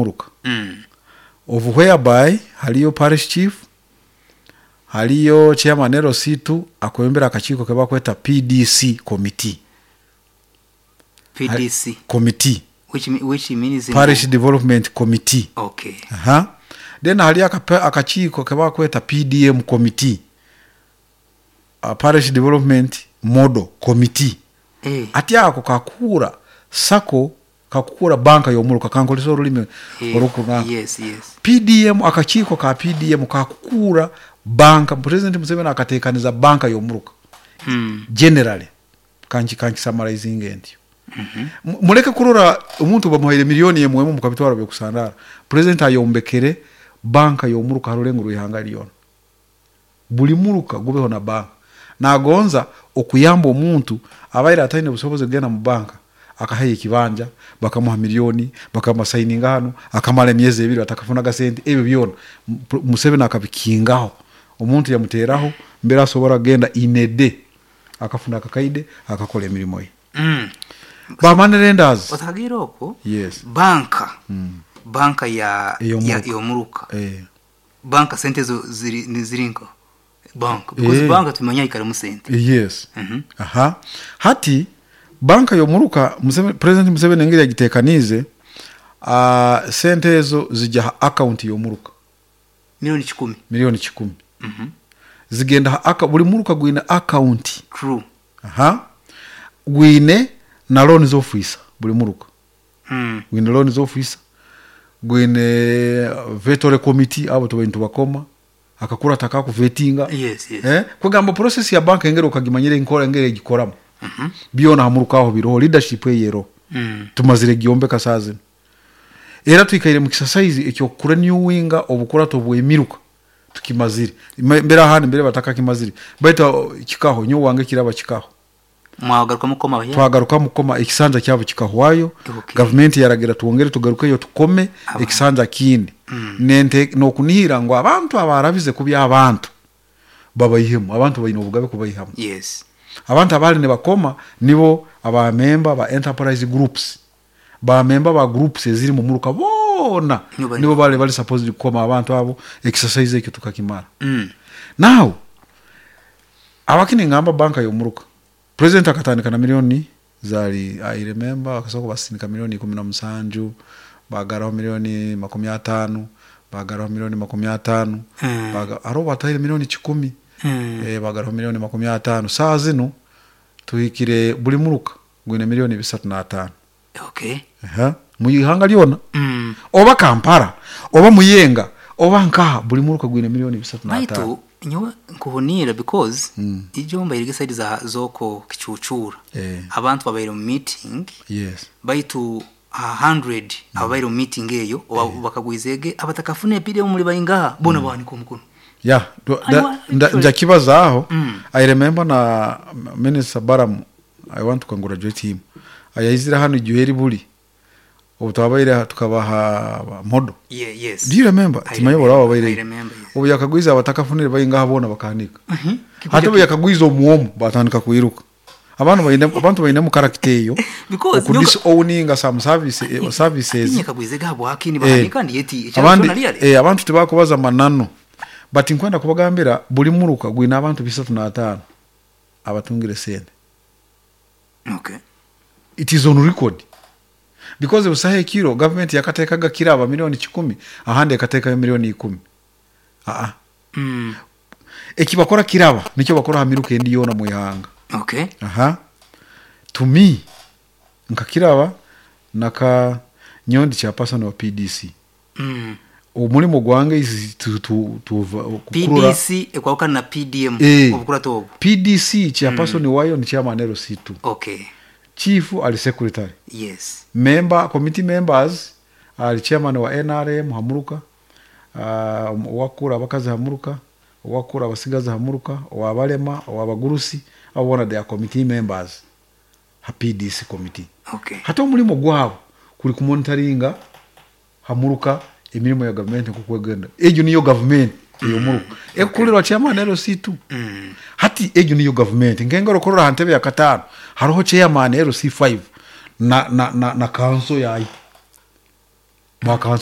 Y'omuruka of whereby hariyo parish chief, hariyo chairman LC2 akwebembera akakiiko ke bakweta PDC committee. PDC Committee. Which means ngu- Parish Development Committee. Okay. Aha. Then hariyo akakiiko ke bakweta PDM committee. Parish Development Model Committee. Eh. Hati ako kakuura sacco Kakukuura banka y'omuruka, kankorese orurimi Eh, orukunanka. yes, yes. PDM, akakiiko ka PDM kakukuura banka, Purezidenti Museveni akateekaniza banka y'omuruka generally, kanki kankisamaraizinge ntyo. Mureke kurora omuntu bamuhaire milioni emwe emwe mukabitwara byokusandaara. Purezidenti ayombekere banka y'omuruka ha rurengo rw'eihanga ryona. Buri muruka gubeho na banka. Nagonza okuyamba omuntu abaire ataine busobozi kugenda mu banka akahayo ekibanja bakamuha milioni bakamusayininga hanu akamara emyezi ebiri atakafunaga sente ebyo byona Museveni akabikingaho omuntu yamuteraho mbere asobora kugenda in a day akafuna akakaide akakora emirimo ye. Ba money lenders. Otakagiire okwo Yes. banka banka ya Ey'omuruka. y'omuruka Eh. Bank sente ezo ziri niziri nka bank because Eh. bank tumanya haikaramu sente. Yes. Aha. Hati banka y'omuruka Museveni, President Museveni engeri yagitekaniize ah, sente ezo zija ha account y'omuruka 1,000,000. 1,000,000. Zigenda ha buri muruka gwine account. True. Aha. Gwine na loans officer buri muruka. Gwine loans officer, gwine vetore committee abo tubaire nitubakoma akakurata akakuvetinga. Yes, yes. Eh? Kwegamba process ya bank engeri okagimanyire enkora engeri egikoramu. Byona aha muruka aho biroho leadership eyo eroho. Tumazire kugyombeka saaha zinu. Era twikaire mu kisasaizi eky'okurenewinga obukurato bw'emiruka tukimazire. Mbere ahandi mbere batakakimazire baitu kikaho nyowe wange kiraba kikaho. Mwagarukamu kukoma abahyaka? Twagarukamu kukoma ekisanja kyabo kikahwayo. Okay. Gavumenti yaragira twongere tugarukeyo tukome Abantu. ekisanja kindi. Nente n'okunihira ngu abantu abarabize kubi abantu babaihemu, abantu baine obugabe kubaihamu. Yes. Abantu abaali nibakoma nibo aba memba ba enterprise groups, ba memba ba groups eziri mu muruka boona Nibo bari nibo bali bari supposed kukoma abantu abo, exercise ekyo tukakimara. Now abaki ningamba banka y'omuruka, president akatandika na milioni zari, I remember akasobola kubasindika milioni 17, bagaraho milioni 50, bagaraho milioni 50, hariho bataire milioni 100, bagaraho milioni 50. Saaha zinu tuhikire buri muruka gwine milioni 305. Okay. Aha, mu ihanga ryona. Oba Kampala, oba Muyenga, oba nkaha buri muruka gwine milioni 305. Baitu nyowe nkuhuniira because ijo mbaire side za z'okwo Kicucuura. Abantu babaire omu meeting. Yes. Baitu aha 100 ababaire omu meeting eyo oba bakagwizege abatakafuna epira omuri baingaha bona bawanika omukono. Yeah, Aiwa, actually. njakibazaaho. I remember na Minister Balaam, I want to congratulate him. Ayaizire hanu ijuhe eri buri obu twabaire aha tukabaha modo. Yeah, yes. Do you remember? I Timanyi oraba remember, wabaire. I remember, yes. Obu yakagwiza abatakafunire baingaha boona bakahanika. Hati obu yakagwiza omuomu batandika kwiruka. Abantu baine abantu bainemu character eyo. Because Oku disowninga some service, services. Atinye kagwize habwaki nibahanika ndi yeti ekyaro Abandi kyona ryari. abantu tibakubaza mananu. But nkwenda kubagambira buri muruka gwine abantu 305 abatungire sente. Okay. It is on record. Because busaho ekiro government yakatekaga kiraba 1,000,000 ahandi ekatekayo 10,000,000. Aa. Ekibakora kiraba nikyo bakora ha miruka endi yoona mu ihanga. Okay. Aha. To me nka kiraba naka nyondi chairperson wa PDC. Omurimo gwange is to, to, to, kukurura PDC ekwahukana na PDM obukurato obu. PDC chairperson wayo ni chairman LC2. Okay. Chief ali secretary. Yes. Member committee members ali chairman wa NRM Hamuruka, owakura abakazi Hamuruka, owakura abasigazi Hamuruka, owabalema, owabagurusi, abo bona they are committee members ha PDC committee. Okay. Hati omurimo gwabo kuri kumonitoringa Hamuruka emirimo ya government nkokwegenda. Egyo niyo government eyo muruka. Ekukurirwa chairman LC2. Hati egyo niyo government. Nkengero korora ha ntebe ya katano hariho chairman LC5 na council yayo. Ba council